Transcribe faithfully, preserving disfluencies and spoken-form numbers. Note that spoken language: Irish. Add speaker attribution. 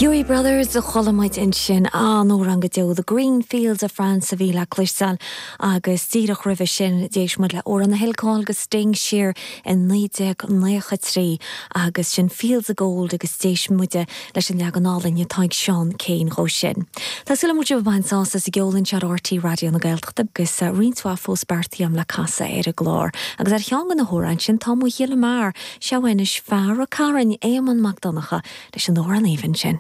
Speaker 1: Huey Brothers a chuala muid ansin an-amhrán go deo The Green Fields of France a bhí le cloisteáil agus díreach roimhe sin d'éist muid le amhrán a thuill cáil do Sting siar in naoi déag nócha trí agus sin Fields of Gold agus d'éist muid leis an leagan álainn atá ag Seán Keane dhó sin. Tá súil agam go bhfuil sibh sásta sa gceol anseo ar RTÉ Raidió na Gaeltachta agus roinnt mhaith fós beartaithe agam le casadh ar an gclár. Agus ar cheann de na hamhráin sin tá mo ghile mear seo anois fear an Chairn Éamonn Mac Donncha leis an amhrán aoibhinn sin.